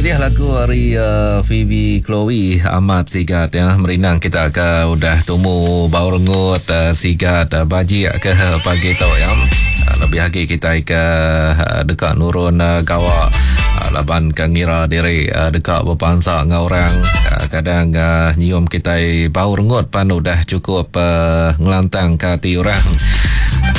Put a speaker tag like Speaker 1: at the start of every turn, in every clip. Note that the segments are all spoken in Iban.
Speaker 1: Pilih lagu ari uh, Phoebe Chloe amat sigat ya merindang kita ke udah tumu bau rengut uh, sigat uh, bajik ke pagi tu ya. Uh, lebih agi kita ke uh, deka nurun uh, gawa uh, laban ke ngira diri uh, deka bepansa enggau orang uh, kadang uh, nyium kita bau rengut pan udah cukup uh, ngelantang ke ati orang.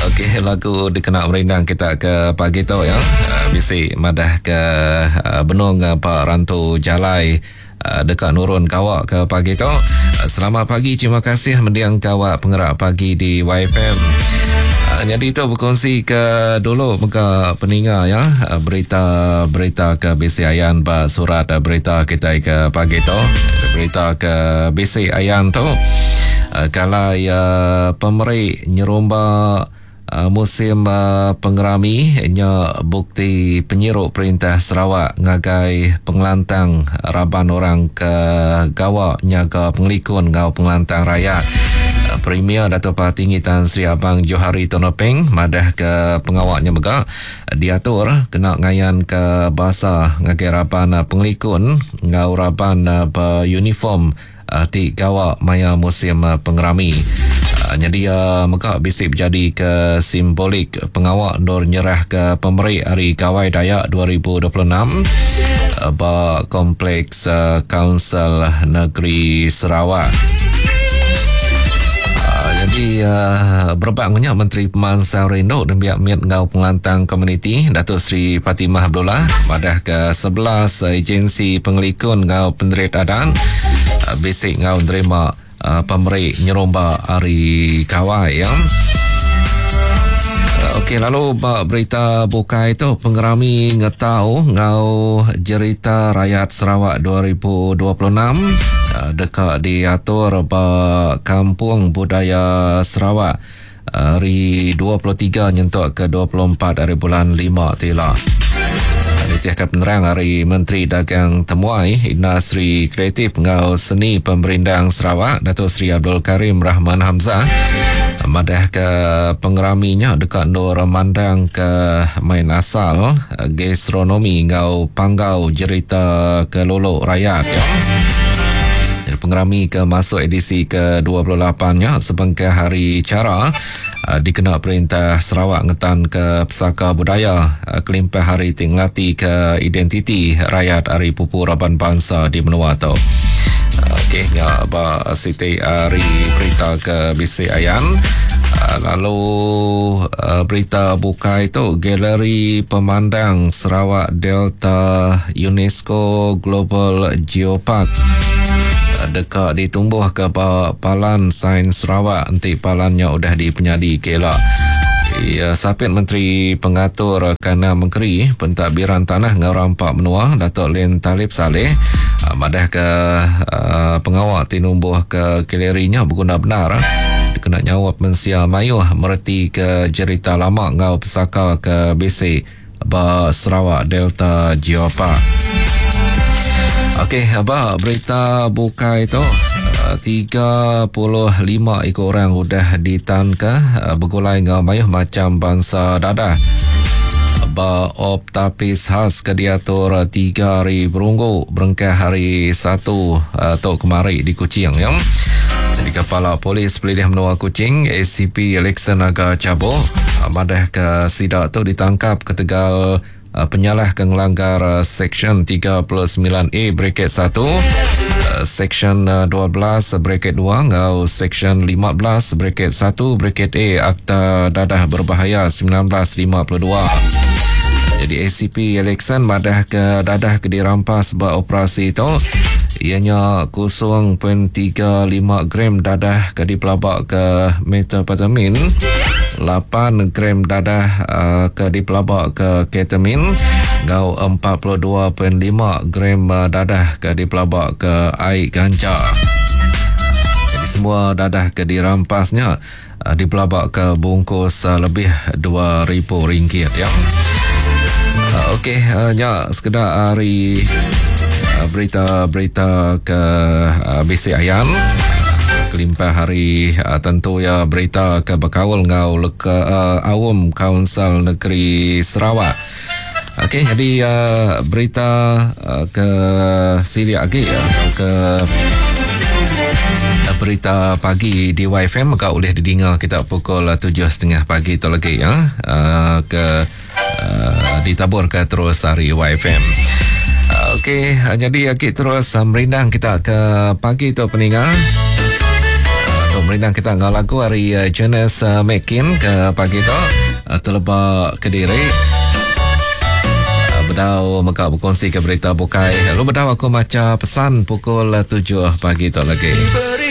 Speaker 1: Okey, lagu dikena merindang kita ke pagi tu ya. Uh, bisi madah ke uh, benung uh, Pak Rantu Jalai uh, deka nurun kawa ke pagi tu. Uh, selamat pagi, terima kasih mendiang kawa pengerak pagi di YFM. Uh, jadi tu berkongsi ke dulu mega peninga ya uh, berita-berita ke bisi ayan ba surat uh, berita kita ke pagi tu. Berita ke bisi ayan tu. Kala iya pemeri nyerumba musim pengerami nya bukti penyiru perintah Sarawak ngagai pengelantang raban orang ke gawa nyaga pengelikun enggau pengelantang rayat. Premier Datuk Patinggi Tan Sri Abang Johari Tun Openg madahka pengawa nya mega diatur kena ngayanka basa ngagai raban pengelikun enggau raban beuniform ti gawa maya musim pengerami. Nyadi iya mega bisi bejadika simbolik pengawa endur nyerahka pemeri ari Gawai Dayak 2026 ba Kompleks Kaunsil Negeri Sarawak. Nyadi berebak enggau nya Menteri Pemansang Rindu Nembiak Mit enggau Pengelantang Komuniti Datuk Seri Fatimah Abdullah madahka 11 agensi pengelikun enggau penerit adat bisi enggau nerima pemeri nyerumba ari Gawai ya. Okey lalu ba berita bukai tu pengerami ngetau enggau jerita rayat Sarawak 2026 deka diatur ba Kampung Budaya Sarawak Hari 23 nyentuk ke 24 hari bulan 5 ti ila. Nitihka penerang ari Menteri Dagang Temuai, Industri Kreatif enggau Seni Pemerindang Sarawak, Datuk Seri Abdul Karim Rahman Hamzah, madahka pengerami nya deka endur mandangka main asal, gastronomi enggau panggau jerita kelulu rayat. Pengerami ke masuk edisi ke-28 nya sebengkah hari chara dikena Perintah Sarawak ngetanka pesaka budaya kelimpah hari ti ngelatika identiti rayat ari pupu raban bansa di menua tu. Okey, nya ba siti hari berita ke bisi ayan. Lalu berita bukai tu Galeri Pemandang Sarawak Delta UNESCO Global Geopark deka ditumbuhka ba Palan Sains Sarawak enti palan nya udah dipenyadi ke ila. Iya, Sapit Menteri Pengatur Kanan Mengeri Pentadbiran Tanah enggau Rampa Menua Datuk Len Talib Salleh madahka pengawa ti numbuhka galeri nya beguna bendar dikena nyaup mensia mayuh meretika jerita lama enggau pesaka ke bisi ba Sarawak Delta Geopark. Okey, ba berita bukai tu 35 iku orang udah ditanka eh, begulai enggau mayuh macam bansa dadah ba Op Tapis Khas ke diatur 3 hari berunggu berengkah hari 1 eh, tu kemari di Kuching ya. Jadi Kepala Polis Pelilih Menua Kuching ACP Alexson Aga Chabo madahka sida tu ditangkap ketegal penyalah ke ngelanggar Seksyen 39A bracket 1, Seksyen 12 bracket 2 enggau Seksyen 15 bracket 1 bracket A Akta Dadah Berbahaya 1952. Jadi ACP Alexson madahka dadah ke dirampas ba operasi tu iya nya 0.35 gram dadah ke dipelaba ke methamphetamine, 8 gram dadah uh, ke dipelaba ke ketamine enggau 42.5 gram uh, dadah ke dipelaba ke ai ganja. Jadi semua dadah ke dirampasnya uh, dipelaba ke bungkus uh, lebih RM2,000 ya. Uh, Okey, uh, nya sekeda hari uh, berita-berita ke uh, bisi ayan. Kelimpah hari uh, tentu ya berita ke bekaul enggau leka uh, aum Kaunsil Negeri Sarawak. Okey, jadi uh, berita uh, ke silik agi atau ke berita pagi di YFM mega ulih didinga kita pukul 7.30 pagi tu lagi ya. Uh, ke uh, ditabur ke terus hari YFM. Uh, Okey, jadi kita terus uh, merindang kita ke pagi tu peninga. Uh, merindang kita ngau lagu hari uh, Jonas uh, Mekin ke pagi tu uh, teleba kediri. Bedau mega berkongsi ke berita bukai. Lalu bedau aku maca pesan pukul 7 pagi tu lagi.